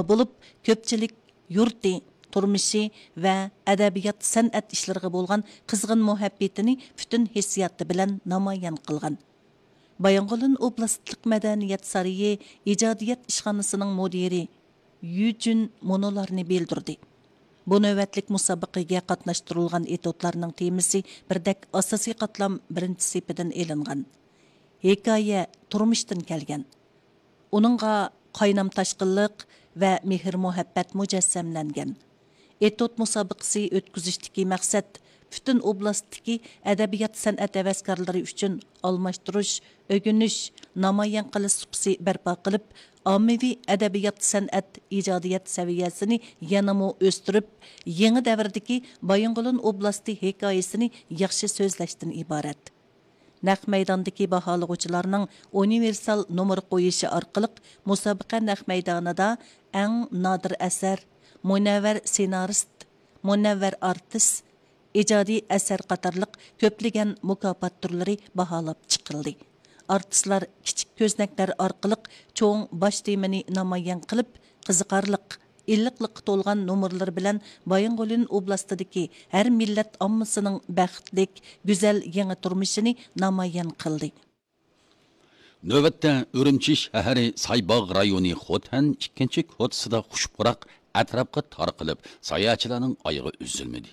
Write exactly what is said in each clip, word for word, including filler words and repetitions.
بولۇپ، كۆپچىلىك يۇرتى، تۇرمۇشى ۋە ئەدەبىيات، سەنئەت ئىشلىرىغا بولغان قىزغىن مۇھەببىتىنى پۈتۈن ھېسسىياتى بىلەن نامايان قىلغان. بايىنغولىن ئوبلاستلىق مەدەنىيەت سارىيى ئىجادىيەت ئىشخانىسىنىڭ مۇدىرى يۈ جۈن مۇنۇلارنى بىلدۈردى. بۇ نۆۋەتلىك مۇسابىقىگە قاتناشتۇرۇلغان ئېتوتلارنىڭ تېمىسى بىردەك ئاساسىي قاتلام بىرىنچى سېپىدىن ئېلىنغان. ھېكايە تۇرمۇشتىن كەلگەن. ئۇنىڭغا قاينام تاشقىنلىق ۋە مېھىر-مۇھەببەت مۇجەسسەملەنگەن. ئېتوت مۇسابىقىسى ئۆتكۈزۈشتىكى مەقسەت پۈتۈن ئوبلاستتىكى ئەدەبىيات-سەنئەت ھەۋەسكارلىرى ئۈچۈن ئالماشتۇرۇش، ئۆگىنىش، نامايان قىلىش سۇپىسى بەرپا قىلىپ، ئاممىۋى ئەدەبىيات-سەنئەت ئىجادىيەت سەۋىيەسىنى يەنىمۇ ئۆستۈرۈپ، يېڭى دەۋردىكى بايىنغولىن ئوبلاستى ھېكايىسىنى ياخشى سۆزلەشتىن ئىبارەت. نەق مەيداندىكى باھالىغۇچىلارنىڭ ئۇنىۋېرسال نومۇر قويۇشى ئارقىلىق مۇسابىقە نەق مەيدانىدا ئەڭ نادىر ئەسەر، مۇنەۋۋەر سېنارىست، مۇنەۋۋەر ئارتىس، ئىجادىي ئەسەر قاتارلىق كۆپلىگەن مۇكاپات تۈرلىرى باھالاپ چىقىلدى. ئارتىسلار كىچىك كۆزنەكلەر ئارقىلىق چوڭ باش تېمىنى نامايان قىلىپ، قىزىقارلىق، ئىللىقلىققا تولغان نومۇرلىرى بىلەن بايىنغولىن ئوبلاستىدىكى ھەر مىللەت ئاممىسىنىڭ بەختلىك، گۈزەل يېڭى تۇرمۇشىنى نامايان قىلدى. نۆۋەتتە ئۈرۈمچى شەھىرى سايباغ رايونى خوتەن ئىككىنچى كوچىسىدا خۇش پۇراق ئەتراپقا تارقىلىپ، ساياھەتچىلەرنىڭ ئايىغى ئۈزۈلمىدى.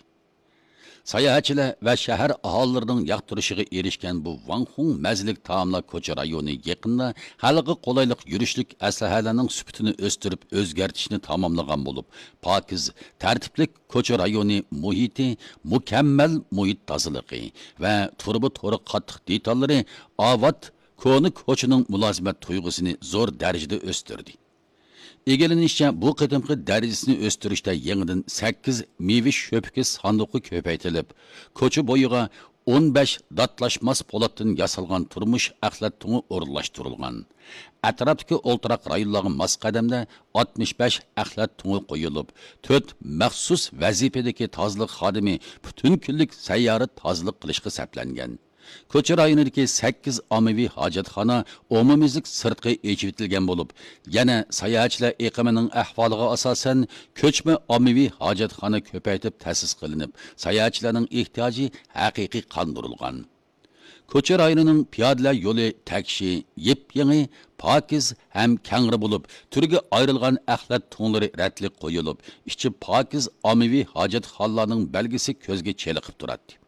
ساياھەتچىلەر ۋە شەھەر ئاھالىلىرىنىڭ ياقتۇرۇشىغا ئېرىشكەن بۇ ۋاڭخۇڭ مەززىلىك تائاملار كوچا رايونى يېقىندا خەلققە قولايلىق يۈرۈشلۈك ئەسلىھەلەرنىڭ سۈپىتىنى ئۆستۈرۈپ، ئۆزگەرتىشنى تاماملىغان بولۇپ، پاكىز، تەرتىپلىك كوچا رايونى مۇھىتى، مۇكەممەل مۇھىت تازىلىقى ۋە تۇرۇبا تورى قاتتىق دېتاللىرى ئاۋات كونا كوچىنىڭ مۇلازىمەت تۇيغۇسىنى زور دەرىجىدە ئۆستۈردى. ئىگىلىنىشىچە، بۇ قېتىمقى دەرىجىسىنى ئۆستۈرۈشتە يېڭىدىن سەككىز مېۋە شۆپىكى ساندۇقى كۆپەيتىلىپ، كوچا بويىغا ئون بەش داتلاشماس پولاتتىن ياسالغان تۇرمۇش ئەخلەت تۇڭى ئورۇنلاشتۇرۇلغان. ئەتراپتىكى ئولتۇراق رايونلارغا ماس قەدەمدە ئاتمىش بەش ئەخلەت تۇڭى قويۇلۇپ، تۆت مەخسۇس ۋەزىپىدىكى تازىلىق خادىمى پۈتۈن كۈنلۈك سەييارە تازىلىق قىلىشقا سەپلەنگەن. كوچا رايونىدىكى سەككىز ئاممىۋى ھاجەتخانا ئومۇميۈزلۈك سىرتقى ئېچىۋېتىلگەن بولۇپ، يەنە ساياھەتچىلەر ئېقىمىنىڭ ئەھۋالىغا ئاساسەن، كۆچمە ئاممىۋى ھاجەتخانا كۆپەيتىپ تەسىس قىلىنىپ، ساياھەتچىلەرنىڭ ئېھتىياجى ھەقىقىي قاندۇرۇلغان. كوچا رايونىنىڭ پىيادىلەر يولى تەكشى، يېپيېڭى، پاكىز ھەم كەڭرى بولۇپ، تۈرگە ئايرىلغان ئەخلەت تۇڭلىرى رەتلىك قويۇلۇپ، ئىچى پاكىز ئاممىۋى ھاجەتخانىلارنىڭ بەلگىسى كۆزگە چېلىقىپ تۇراتتى.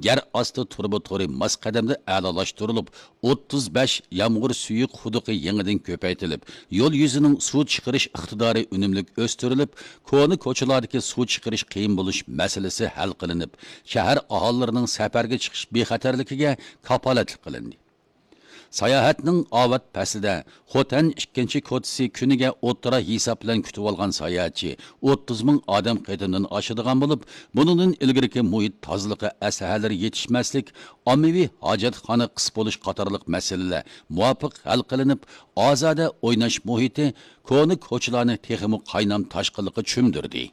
يەر ئاستى تۇرۇبا تورى ماس قەدەمدە ئەلالاشتۇرۇلۇپ، ئوتتۇز بەش يامغۇر سۈيى قۇدۇقى يېڭىدىن كۆپەيتىلىپ، يول يۈزىنىڭ سۇ چىقىرىش ئىقتىدارى ئۈنۈملۈك ئۆستۈرۈلۈپ، كونا كوچىلاردىكى سۇ چىقىرىش قىيىن بولۇش مەسىلىسى ھەل قىلىنىپ، شەھەر ئاھالىلىرىنىڭ سەپەرگە چىقىش بىخەتەرلىكىگە كاپالەتلىك قىلىندى. ساياھەتنىڭ ئاۋات پەسلىدە خوتەن ئىككىنچى كوچىسى كۈنىگە ئوتتۇرا ھېساب بىلەن كۈتۈۋالغان ساياھەتچى ئوتتۇز مىڭ ئادەم قېتىمدىن ئاشىدىغان بولۇپ، بۇنىڭدىن ئىلگىرىكى مۇھىت تازىلىقى ئەسلىھەلىرى يېتىشمەسلىك، ئاممىۋى ھاجەتخانا قىس بولۇش قاتارلىق مەسىلىلەر مۇۋاپىق ھەل قىلىنىپ، ئازادە ئويناش مۇھىتى، كونا كوچىلارنى تېخىمۇ قاينام تاشقىنلىققا چۆمدۈردى.